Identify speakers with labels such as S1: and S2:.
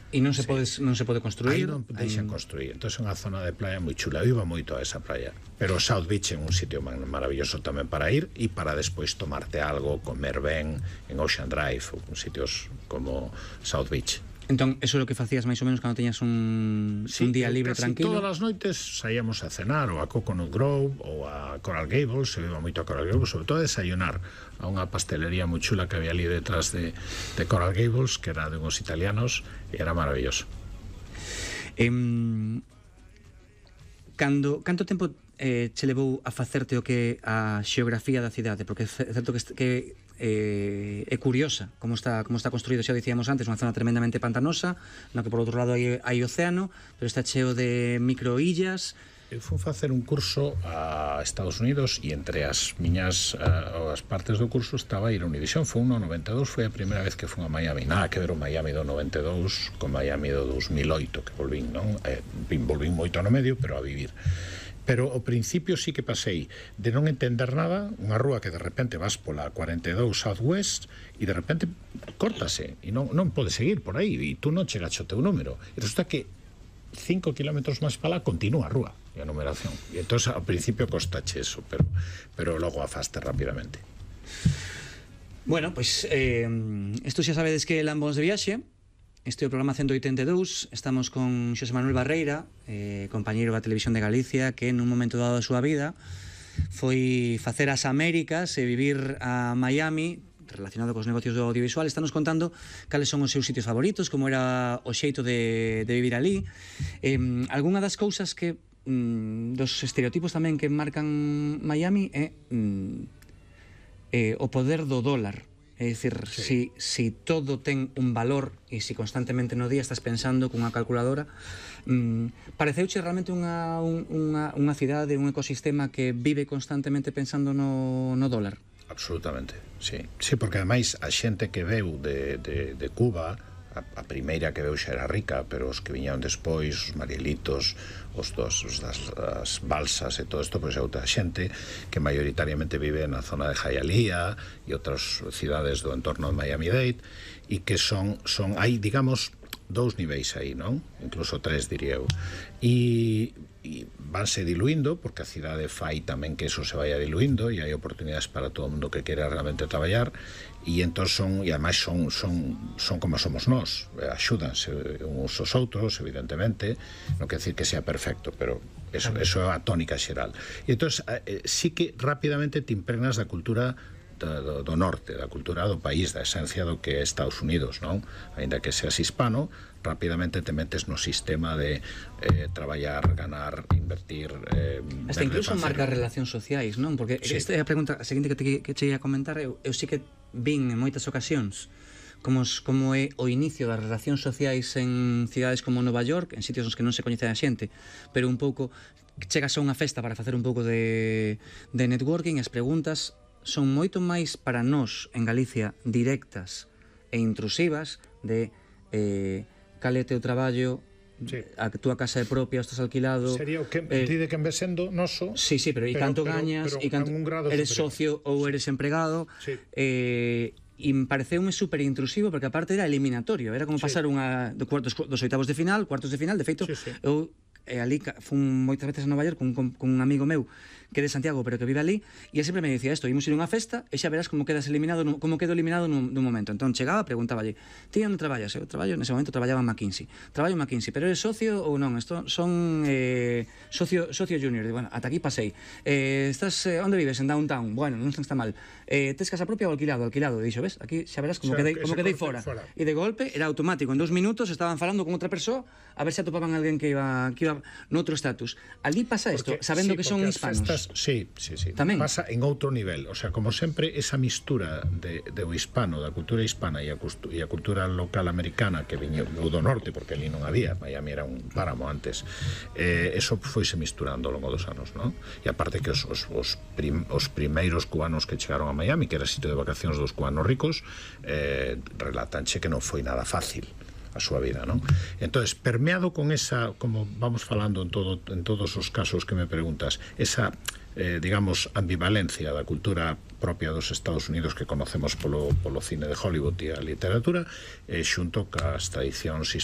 S1: E non se pode construir?
S2: Aí non deixan construir. Entón é unha zona de playa moi chula. Eu iba moito a esa playa. Pero South Beach é un sitio maravilloso tamén para ir e para despois tomarte algo, comer ben en Ocean Drive, ou en sitios como South Beach.
S1: Entón, eso é o que facías máis ou menos cando teñas un día libre tranquilo?
S2: Todas as noites saíamos a cenar ou a Coconut Grove ou a Coral Gables, se iba moito a Coral Gables, sobre todo a desayunar a unha pastelería moi chula que había ali detrás de Coral Gables, que era de uns italianos, e era maravilloso.
S1: Canto tempo che levou a facerte o que a xeografía da cidade? Porque é certo que é curiosa como está construído, xa dicíamos antes, unha zona tremendamente pantanosa, no que por outro lado hai océano, pero está cheo de microillas.
S2: Eu fui facer un curso a Estados Unidos e entre as miñas as partes do curso estaba a ir a Univision. Foi no 92, foi a primeira vez que fui a Miami. Nada que ver o Miami do 92 con Miami do 2008 que volvín, non? Volvín moito no medio, pero a vivir. Pero ao principio sí que pasei de non entender nada, unha rúa que de repente vas pola 42 Southwest e de repente córtase e non podes seguir por aí e tú non chegas ao teu número. E resulta que 5 kilómetros máis para lá continúa a rúa e a numeración. E entón ao principio costache eso, pero logo afaste rapidamente.
S1: Bueno, pois isto xa sabedes que Lambos de Viaxe. Este é o programa 182, estamos con Xosé Manuel Barreira, compañeiro da Televisión de Galicia, que nun momento dado da súa vida foi facer as Américas e vivir a Miami relacionado cos negocios do audiovisual. Está nos contando cales son os seus sitios favoritos, como era o xeito de vivir ali. Algunha das cousas que dos estereotipos tamén que marcan Miami é o poder do dólar. É dicir, sí. si todo ten un valor e si constantemente no día estás pensando cunha calculadora, pareceuche realmente unha cidade, un ecosistema que vive constantemente pensando no dólar?
S2: Absolutamente, sí. Sí, porque ademais a xente que veu de Cuba, a primeira que veu xa era rica, pero os que viñeron despois, os Marielitos, os das balsas e todo isto, pois é outra xente que maioritariamente vive na zona de Hialeah e outras cidades do entorno de Miami-Dade, e que son hai, digamos, dous niveis aí, non? Incluso tres, diría eu. E vanse diluindo, porque a cidade fai tamén que eso se vaya diluindo e hai oportunidades para todo o mundo que quera realmente traballar, e entón e ademais son como somos nós, axúdanse uns aos outros, evidentemente, non quer decir que sea perfecto, pero eso é a tónica xeral. E entón sí que rapidamente te impregnas da cultura do norte, da cultura do país, da esencia do que é Estados Unidos, non? Ainda que seas hispano, rapidamente te metes no sistema de traballar, ganar, invertir,
S1: hasta incluso marca relacións sociais, non? Porque esta é a pregunta a seguinte que che ia comentar. Eu sí que vin en moitas ocasións como é o inicio das relacións sociais en cidades como Nova York, en sitios nos que non se coñece a xente, pero un pouco chegas a unha festa para facer un pouco de networking, as preguntas son moito máis para nós en Galicia directas e intrusivas de cal é teu traballo, a túa casa é propia, estás alquilado.
S2: Sería o que ti de que en vez sendo noso.
S1: Sí, pero e canto gañas, e canto eres socio ou eres empregado. E me pareceume super intrusivo, porque aparte era eliminatorio, era como pasar dos oitavos de final, cuartos de final. De feito, eu ali fun moitas veces a Nova York con un amigo meu que é de Santiago, pero que vive ali, e ele sempre me dicía isto: imos ir a unha festa e xa verás como quedas eliminado, como quedo eliminado nun momento. Entón chegaba, preguntáballe: ti onde traballas? Eu traballo, nese momento traballaba en McKinsey. Traballo en McKinsey, pero eres socio ou non? Son socio junior. E, bueno, ata aquí pasei. Estás onde vives? En downtown. Bueno, non está mal. Tes casa propia ou alquilado? Alquilado. Dixo, ves? Aquí xa verás como quedei fora. E de golpe era automático. En 2 minutos estaban falando con outra persoa a ver se atopaban alguén que iba noutro estatus. Ali pasa isto, sabendo que son hispanos.
S2: Sí. Tamén pasa en outro nivel. O sea, como sempre, esa mistura do hispano, da cultura hispana e a cultura local americana que viñeu do norte, porque ali non había, Miami era un páramo antes, eso foise misturando ao longo dos anos, non? E aparte que os primeiros cubanos que chegaron a Miami, que era sitio de vacacións dos cubanos ricos, relatanche que non foi nada fácil a súa vida, non? Entonces, permeado con esa, como vamos falando en todos os casos que me preguntas, esa, digamos, ambivalencia da cultura propia dos Estados Unidos que conocemos polo cine de Hollywood e a literatura, xunto cas tradicións